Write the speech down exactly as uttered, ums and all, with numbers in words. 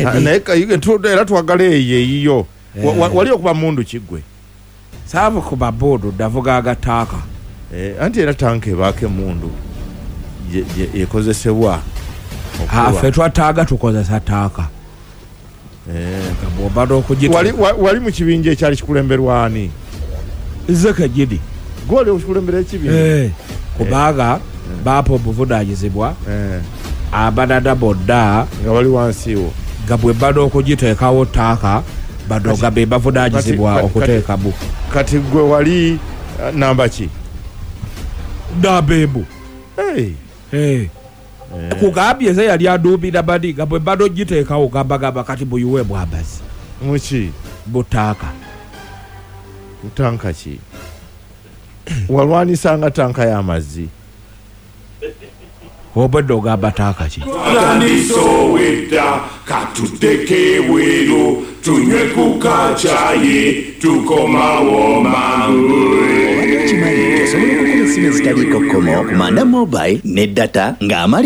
Ah, naye ka- tu- era twagala eyo eyiyo. Wa- wa- wali okuba mundu kiggwe? Saavu kuba bodo, ndavuga agataaka. Eh, anti era tanka ebaako emundu gye- gye- ekozesebwa okuba. Ffe twataaga tukozesa taaka. Eh. Nga bw'obadde okugita Wali- wa- wali mu kibinja ekyali kikulemberwa ani? Nze kenyini. Gwe oli okukulembera ekibinja? Eh, kubanga baapa obuvunaanyizibwa Eh, abalala bonna nga bali wansi wo. Nga bwe bada okugiteekawo taaka, bano nga be bavunaanyizibwa kati- okuteekamu. Kati gwe wali eh, namba ki? Namba emu. Hey. Eh. Kugambye nze yali aduumira bani, nga bwe bada ogiteekawo gambagamba kati muyiwe mwambazi. Muki? Mutaaka. Tanka ki? Walwanisanga tanka y'amazzi? Obwedde ogamba taaka ki? Tutandise owedda, katuddeko ebweru tunywe ku kacaayi, tukomawo mangu. Obadde okimanyi nti osobola okukuba essimu ezitaliiko kkomo ku Manda Mobile ne data ng'amali